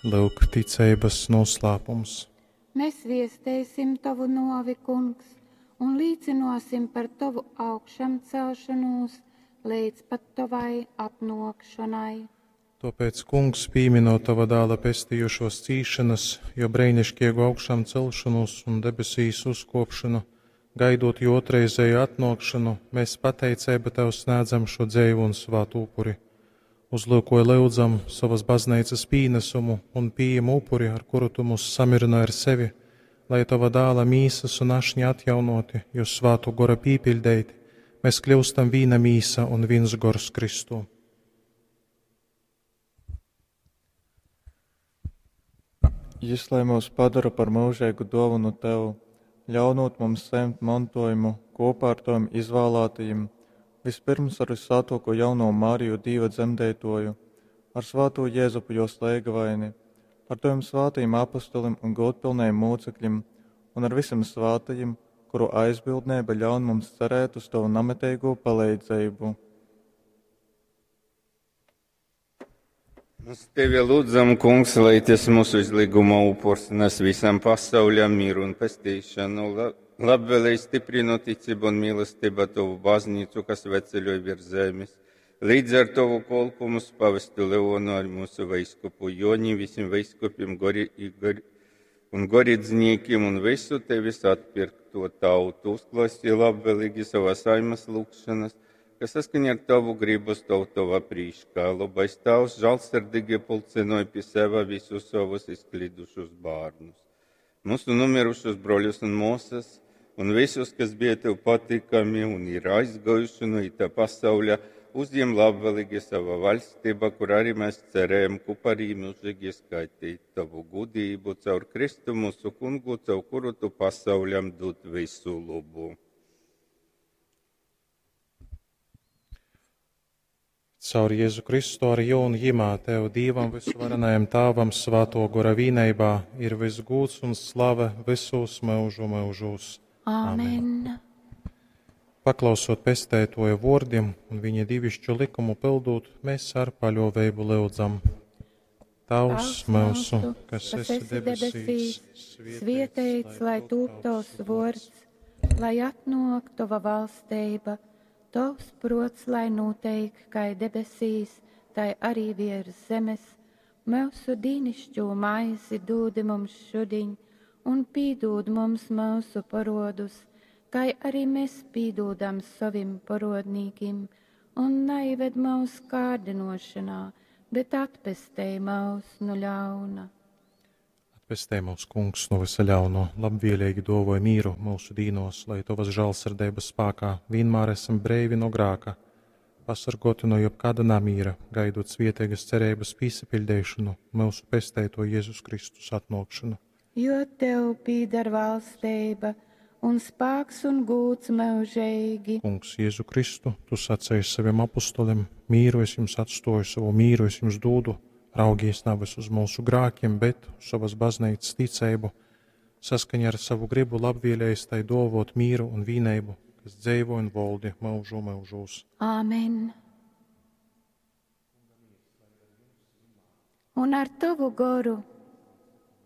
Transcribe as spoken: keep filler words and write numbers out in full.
Lyuk, ticeibas noslēpums. Mēs viesteisim Tovu nōvi, Kungs, un līcynōsim par Tovu augšamcelšonūs leidz pat Tovai atnōkšonai. Tōpēc, Kungs, pīminot Tova dāla pestījušos cīšanas, jo breinišķiegu augšām celšanos un debesīs uzkopšanu, gaidot jo otrreizēju atnōkšanu, mēs pateiceibu Tev snēdzam šo dzeivu un svātu upuri. Uzlūkoj lyudzam sovas bazneicas pīnesumu un pījem upuri, ar kuru Tu mūs samirinoj ar sevi, lai Tova dāla mīsas un ašņa atjaunoti, jo svātu gora pīpiļdeiti, mēs kļūstam vīna mīsa un viens gors Kristū. Jis lai myus padora par myužeigu dōvonu Tev, ļaunūt mums sajimt montojumu kopā ar Tavim izvālātajim, vispirms ar Vyssvātōko jaunovu Mariju Dīva dzemdeitoju, ar svātū Jēzupu jos leigavaini, ar Tavim svātajim apostolim un gūdpilnajim mūcekļim un ar visim svātajim, kuru aizbildneiba ļaun mums cerēt uz Tavu namiteigū paleidzeibu. Mēs tevi lūdzam, Kungs, lai tas mūsu izlīguma upurs nes visam pasauļam mieru un pestīšanu. Labvēlēji stiprino ticību un mīlestību Tavu baznīcu, kas veceļoj virs zemes. Līdz ar Tavu kolpu mums pavestu Leonu ar mūsu veiskupu Joni, visiem veiskupiem gori, gori, un gorīdzniekiem un visu Tevis atpirkto tautu. Uzklausi labvēlīgi savas saimas lūgšanas, kas saskaņā ar Tavu gribu stāv Tavā prīškā. Labais Tavs žēlsirdīgi pulcinoja pie seva visus savus izklīdušus bērnus. Mūsu nomirušos broļus un māsas, un visus, kas bija Tev patīkami un ir aizgājuši no itā pasauļa, uzņem labvēlīgi savā valstībā, kur arī mēs cerējam kopā arī mūžīgi skaitīt Tavu gudrību caur Kristu mūsu kungu, caur kuru Tu pasauļam dod visu labu. Caur Jēzu Kristu ar jo un Jimā Tev, Dīvam visvarenajam Tāvam, Svāto Gora vīneibā, ir viss gūds un slave visos mūžu mūžos. Amen. Amen. Paklausot pestētoja vārdiem un viņa divišķu likumu pildot, mēs ar paļāvību lūdzam. Tavs mūsu, kas esi debesīs, svētīts lai tūp tavs vārds, lai atnāk tava valstība, tavs prots, lai noteik, kai debesīs, tai arī virs zemes. Mūsu dīnišķo maizi dūdi mums šudiņ, un pīdūd mums mūsu parodus, kai arī mēs pīdūdam savim parodnīkim, un neived mūs kārdinošanā, bet atpestej mūs no ļauna. Atpestej mūs, Kungs, no visa ļauno, labvēlīgi dovoj mīru mūsu dīnos, lai Tavas žēlsirdības spēkā vienmēr esam breivi no grāka, pasargoti no jebkāda namīra, gaidot svietēgas cerības pīsapildīšanu, mūsu pestēto Jēzus Kristus atnākšanu. Jo Tev pīdar valstība un spēks un gūts mūžīgi. Kungs, Jēzu Kristu, Tu sacēji saviem apostoliem, mīru es jums atstoju, savu mīru es jums dūdu, raugies nevis uz mūsu grākiem, bet uz savas baznīcas ticību, saskaņā ar savu gribu labvēlējis tai dovot mīru un vīneibu, kas dzīvo un valdi mūžu mūžos. Āmen. Un ar Tavu goru.